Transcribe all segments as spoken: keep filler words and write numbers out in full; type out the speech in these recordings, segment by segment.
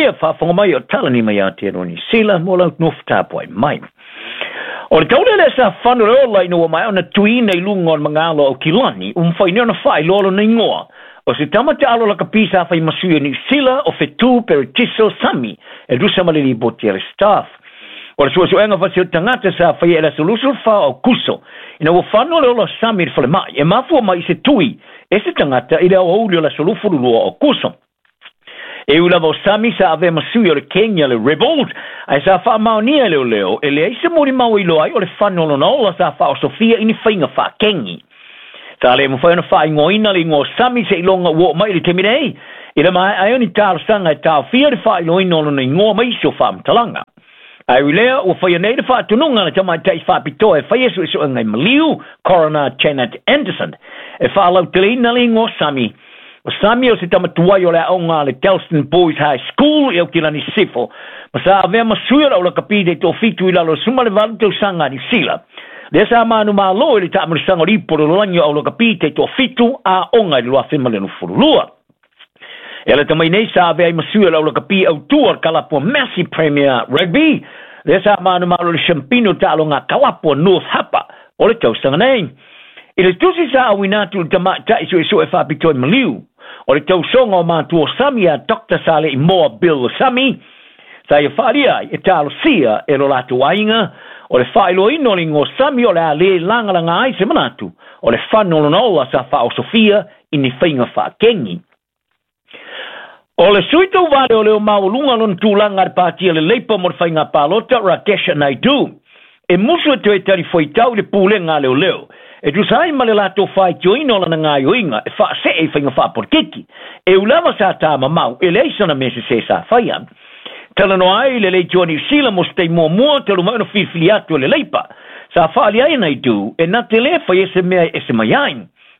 manuia faafofoga mai o talani mai Aotearoa Niu Sila mo lau nofo tapuai mai. O le taule lea sa fano le ola ina ua maea ona tuiina i luga o le magalo o Aukilani, ua mafai nei ona faailoa lona igoa. O se tama taalo lakapi sa fai ma sui o Niu Sila o Fetu Peretiso Sami e tusa ma le lipoti a le Stuff. O le suesuega fasi o tagata sa faia i le aso luasefulu fa o Aokuso, ina ua fano le ola o Sami i le falemai e mafua mai i se tui e se tagata i le aoauli o le aso luasefulu lua o Aokuso. E ui lava o Sami sa avea ma sui o le kegi a le Rebels, ae sa faamaonia e leoleo e leai se molimau e iloa ai o le fano o lona ola sa faaosofia i ni faiga faakegi. Sa le mafai ona faaigoaina le igoa o Sami seiloga ua oo mai i le taimi nei, i le maea ai o ni talosaga e taofia le faailoaina o lona igoa ma isi o faamatalaga. Ae ui lea, ua faia nei le faatonuga a le tamaitai faapitoa e faia suesuega i maliu, Coroner Janet Anderson, e faalauteleina le igoa o Sami. O Sami o se tama tuai o le aoga a le Kelston Boys High School i Aukilani Sisifo, ma sa avea ma sui o le aulakapi taitoafitu i lalo o le sefulu ma le valu tausaga a Niu Sila. Lea sa manumalo i le taamilosaga o le ipu o le lalolagi o aulakapi taitoafitu aoga i le luafe ma le onosefulu lua. E ala mai nei sa avea ai ma sui o le aulakapi autu o le kalapu o Massey Premier Rugby, lea sa manumalo i le siampina o taaloga kalapu o North Harbour o le tausaga nei. I le tusi sa auina atu i le tamaitai suesue faapitoa i maliu, o le tausoga o matua o Sami ia Doctor Saleimoa Bill Sami, sa ia faaalia ai e talosia e lo latou aiga o le faailoaina o le igoa o Sami o le a lē lagalaga ai se manatu o le fano o lona ola sa faaosofia i ni faiga faakegi. O le sui tauvā leoleo maualuga lona tulaga a le patia le Leipa mo le faiga palota Rakesh Naidu e musu e toe talifuaitau i le pulega a leoleo e tusa ai ma le latou faitioina o lana gaoioiga e faasee i faiga faapolokiki. E ui lava sa tamamau e leai sana mea sesē sa faia. Talanoa ai le Leitioa Niu Sila mo se taimi muamua talu mai ona filifili atu e le Leipa. Sa faaalia ai Naidu e na te lē faia se mea e ese mai ai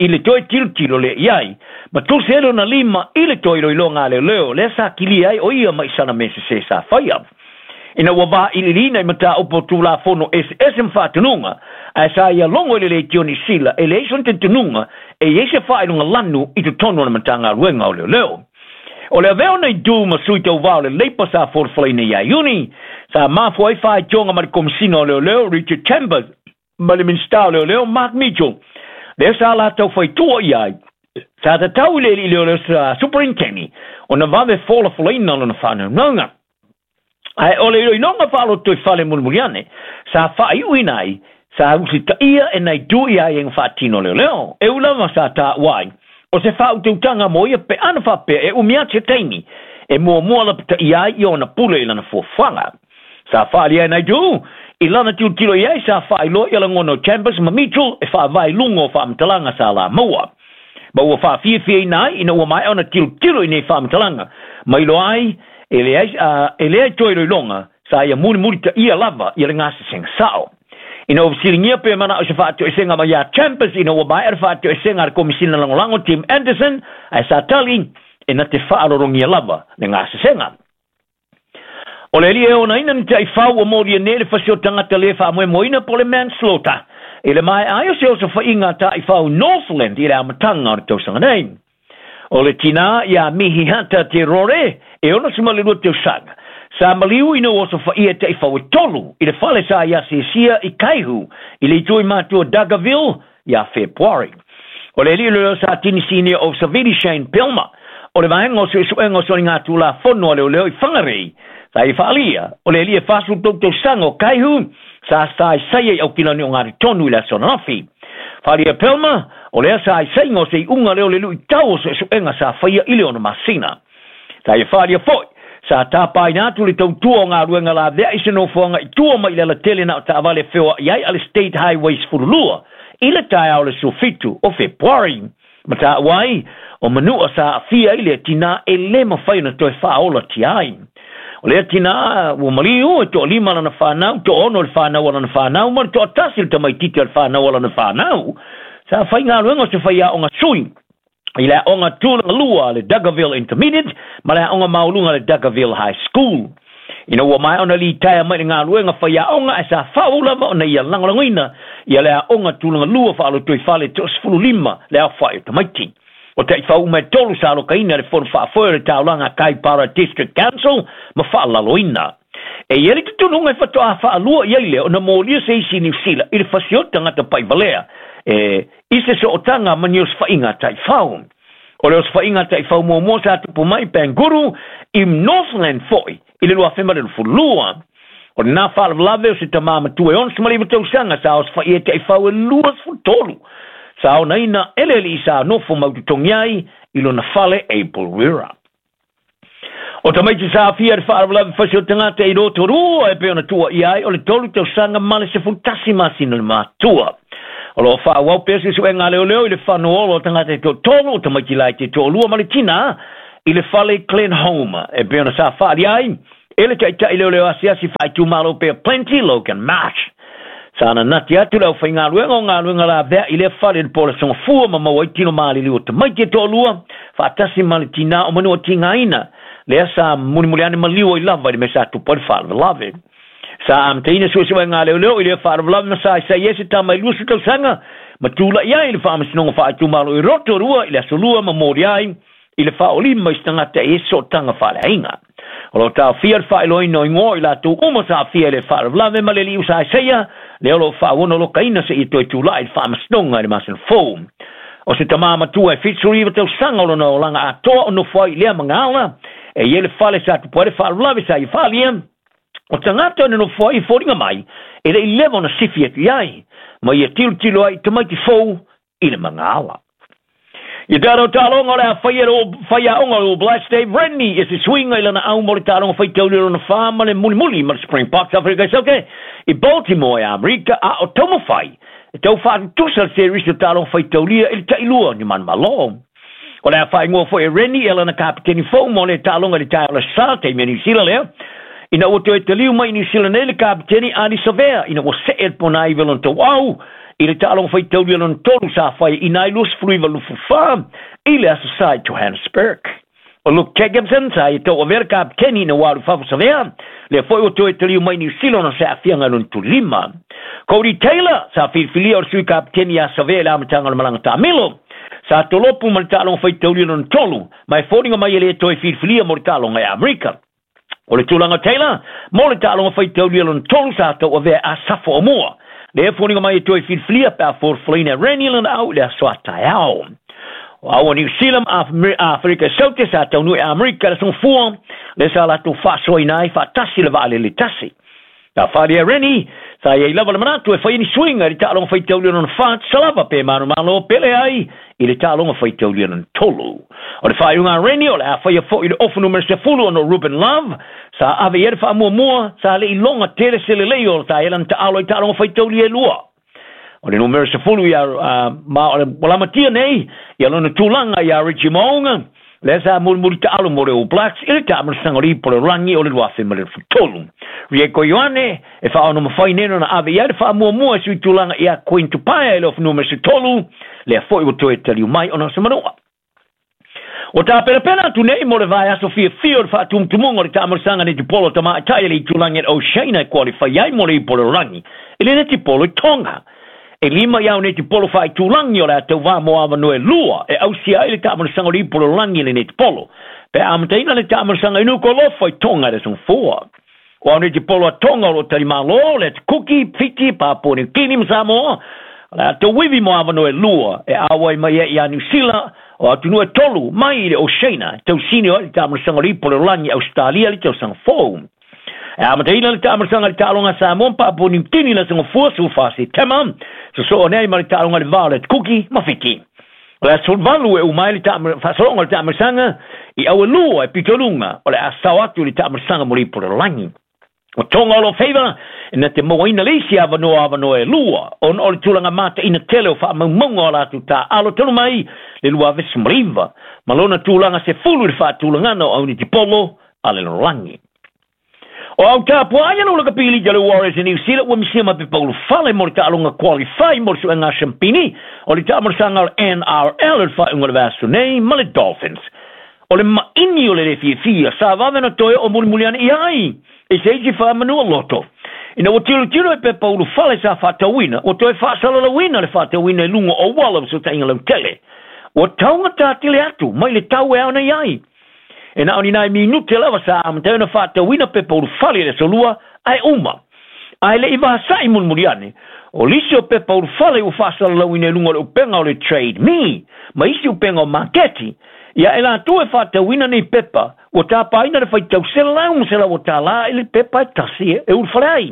i le toe tilotilo lea i ai ma tusi ai lona lima i le toe iloiloga a leoleo lea sa kilia ai o ia mai sana mea sesē sa faia. Ina ua vailiiliina i mataupu o tulafono eseese ma faatonuga, ae sa ia logo i le Leitio Niu Sila e leai sona talitonuga e i ai se faailoga lanu i totonu o le Matagaluega o Leoleo. O le avea o Naidu ma sui tauvā o le Leipa sa folafolaina ia Iuni, sa mafua ai faitioga ma le Komisina o Leoleo Richard Chambers ma le Minisita o Leoleo Mark Mitchell, lea sa latou faitua i ai sa tatau i le alii leoleo sa Superinteni ona vave folafolaina lona faanaunauga. Ae o le iloiloga faalotoifale mulimuli ane sa faaiuina ai sa usitaia e Naidu i aiaiga faatino leoleo. E ui lava sa taua ai o se faautautaga mo ia pe ana faapea e umi atu se taimi e muamua lapataia ai i ona pule i lana fuafuaga. Sa faaalia e Naidu i lana tilotilo i ai sa faailoa ia lagona o Chambers ma Mitchell e faavae i luga o faamatalaga sa la maua. Ma ua faafiafiaina ai ina ua maea ona tilotilo i nei faamatalaga ma iloa ai e leai, e leai toe iloiloga sa ia mulimulitaia lava ia le gasesega sao. Ina ua fesiligia pe manao i se faatoesega mai ia Chambers ina ua maea le faatoesega a le Komisina Lagolago Tim Anderson, ae sa tali e na te faalologia lava le gasesega. O le alii e onaina ni taifau ua molia nei le fasi o tagata lē faamoemoeina po o le manslaughter i le maea ai o se osofaiga a taifau Northland i le amataga o le tausaga nei. O le tinā ia Mihihata Te Rore e onosefulu ma le lua tausaga sa maliu ina ua osofaia e taifau e tolu i le fale sa ia asiasia i Kaihu i le itu i matua Dargaville ia Fepuari. O le alii leoleo Satini Senior Officer Vili Shane Pelma o le vaega o suesuega o soligatulafono a leoleo i Whangarei sa ia faaalia o le alii e fasefulu tolu tausaga o Kaihu sa saesaia i Aukilani o Tonu i le aso ananafi. Faaalia Pelma o lea saesaiga o se iuga lea o le luitau o suesuega sa faia i le ono masina. Sa ia faaalia foi sa tapaina atu le tautua o galuega laveai se nofoaga i tua mai i le alatele na o taavale feoai ai a le State Highway sefulu lua i le taeao le suafitu o Fepuari. Ma taua ai o manua sa aafia ai le tinā e lē mafai ona toe faaolatia ai. O lea tinā ua maliu e toalima lana fanau, toaono le fanau a lana fanau ma le toatasi le tamaititi a le fanau a lana fanau. Sa faigaluega o se faiaoga sui i le aoga tulaga lua le Dargaville Intermediate ma le aoga maualuga le Dargaville High School. Ina ua maea ona litaea mai le galuega faiaoga ae sa faaauau lava ona ia lagolagoina ia le aoga tulaga lua faalotoifale toasefulu lima le aofai o tamaiti. O taifau uma e tolu sa alokaina le fono faafoe o le taulaga Kaipara District Council ma faalaloina. E i ai le tutunuga e fatoā faalua i ai lea ona molia se isi Niu Sila i le fasioti tagata paivalea e i se sootaga ma ni osofaiga taifau. O le osofaiga taifau muamua sa tupu mai Panguru i Northland foi i le lua afe ma le luafulu. O lena faalavelave o se tamā matua e onosefulu ma iva tausaga sa osofaia e taifau e luasefulu tolu. Sa onaina e le alii sa nofo mautotogi ai i lona fale Abel Wira. O tamaiti sa afia le faalavelave fasi o tagata i Rotorua e pei ona tuuaia ai o le tolu tausaga ma le sefulu tasi masina le matua. O loo faaauau pea suesuega a leoleo i le fanuolo o tagata e toatolu o tamaiti laiti e toalua ma le tinā i le fale Glenholme e pei ona sa faali ai e le taitai leoleo asiasi faaitumalo pea Plenty Logan Marsh. Sa nanati atu le aufaigaluega o galuega lavea i lea fale i le po o le sogafua ma maua ai tino maliliu o tamaiti e toalua faatasi ma le tinā o manua tigaina lea sa mulimuli ane maliu ai lava i le mea sa tupu ai le faalavelave. Sa amataina suesuega a leoleo i lea faalavelave ma sa isaia se tama i luasefulu tausaga ma tula'i ai i le faamasinoga faaitumalo i Rotorua i le aso lua ma moli ai i le faaolima i se tagata e i ai sootaga faaleaiga. O loo taofia le faailoaina o igoa i latou uma sa afia i le faalavelave ma le alii sa isaia lea o loo faaono alokaina seia toe tula'i i le faamasinoga i le masina fou. O se tamā matua e fitusefulu iva tausaga o lona olaga atoa o nofo ai i lea magala e i ai le fale sa tupu ai le faalavelave sa ia faalia o tagata o nofo ai i foliga mai e le'i leva ona sifi atu i ai ma ia tilotilo ai i tamaiti fou i le magala. Ia tatou taaloga o le a faia le faiaoga o le All Blacks Dave Rennie i se suiga i lana au mo le taaloga faitauli lona fa ma le mulimuli ma le Springboks Afrika i Saute i Baltimore e Amerika a o taumafai e tau faatutusa le series o taaloga faitaulia i le tailua o ni manumalo. O le a faaigoa foi e Rennie e lana kapiteni fou mo le taaloga i le taeao le sa taimi a Niu Sila lea ina ua toe taliu mai i Niu Sila nei le kapiteni Ardie Savea ina ua see le ponaiva lona tauau i le taaloga faitaulia lona tolu sa fai i nai luasefulu iva luasefulu fa i le aso sa i Johannesburg. O Luke Jacobson sa ia tauavea le kapiteni ina ua alu fafo Savea lea foi ua toe taliu mai Niu Sila ona se aafiaga lona tulima. Codie Taylor sa filifilia o le sui kapiteni ia Savea i le amataga o le malaga taamilo. Sa tolopu ma le taaloga faitaulia lona tolu ma e foliga mai e le toe filifilia mo le taaloga e Amerika. O le tulaga Taylor mo le taaloga faitaulia lona tolu sa tauavea Asafo Aumua. Lea foliga mai e toe filifilia pe a folafolaina e Rennie lona au i le aso a taeao. O au a Niu Sila ma Afrika Saute sa taunuu i Amerika le sogafua lea sa latou faasoaina ai faatasi le vaalele tasi. Sa faali e Rennie sa iai lava le manatu e fai ni suiga i le taaloga faitaulia lona fa tusa lava pe manumalo pele ai i le taaloga faitaulia lona tolu. O le faaiuga a Rennie o le a faia foi i le ofu numera sefulu ona o Ruben Love sa ave i ai le faamuamua sa le'i loga tele se lelei o sa ai lana taalo i taaloga faitaulia e lua. O le numera sefulu ia uh, ma o le lamatia nei ia lona tulaga ia Richie Mo'unga lea sa mulimuli taalo mo le All Blacks i le taamalasaga o le ipu o le lagi o le lua afe ma le tolu. Rieko Ioane e faaono mafai nei ona ave i ai le faamuamua e sui tulaga ia Queen Tupaea i le ofu numera tolu lea foi ua toe taliu mai ona o se manua. O tapenapena atu nei mo le vaiaso fiafia o le faatumutumuga o le taamalasaga netipolo tamaitai e le itulagi e Oceania e qualify ai mo le ipu o le lagi i le netipolo i Tonga. E lima iau netipolo faaitulagi o le a tauvā mo avanoa e lua e ausia ai le taamalasaga o le ipu o le lagi i le netipolo. Pe amataina le taamalasaga i Nuku'alofa i Tonga i le sogafua. O au netipolo a Tonga o loo talimālō le Atukuki, Fiti, Papua Niukini ma Samoa o le a tauivi mo avanoa e lua e auai mai ai ia Niu Sila o atunuu e tolu mai i le Oceania tausini o ai le taamalasaga o le ipu o le lagi Australia le tausaga fou. E amataina le taamalasaga i le taaloga a Samoa ma Papua Niukini le sogafua sefulufa Setema sosoo nei ma le taaloga i le va o le Atukuki ma Fiti. O le aso valu e uma ai le faasologa o le taamalasaga i auelua e pitoluga o le a sao atu i le taamalasaga mo le ipu o le lagi. O Tonga o lo feiva e na te mauaina le isi avanoa avanoa e lua ona o le tulaga mataina tele o faamaumauga o latou taaalo talu mai le lua afe sefulu ma iva ma lona tulaga sefulu i le faatulagana o aunitipolo a le lalolagi. O au tapuaia no le kapili le Warriors i New Zealand ua misia ma pepa ulufale mo le taaloga qualify mo le suega siampini o le taamalasaga o le N R L i le faaiuga o le vaiaso nei ma le Dolphins. O le maini o le le fiafia sa vave na toe o mulimuli ane i ai e se isi faamanua loto. Ina ua tilotilo e pepa ulufale sa faatauina, ua toe faasalalauina le faatauina i luga o auala o fesootaiga lautele. Ua taugatā tele atu mai le tau e ao nei ai. E na o ni nai minute lava sa amata ai ona faatauina pepa ulufale i le aso lua ae uma. Ae le i vasa'i mulimuli ane, o lisi o pepa ulufale ua faasalalauina i luga o le upega o le Trade Me ma isi upega o maketi, ia e latou e faatauina nei pepa, ua tapaina le faitau selau ma selau o tālā i le pepa e tasi e ulufale ai.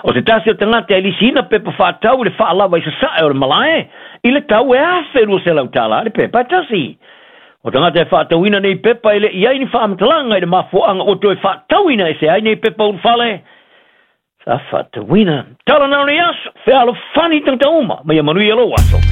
O se tasi o tagata e lisiina pepa faatau i le faalava i sasae o le malae, i le tau e afe lua selau tālā le pepa e tasi. O tagata e faatauina nei pepa e le i ai ni faamatalaga i le mafuaaga ua toe faatauina ese ai nei pepa ulufale, sa faatauina. Tala na o nei aso, fealofani tagata uma, ma ia manuia lou aso.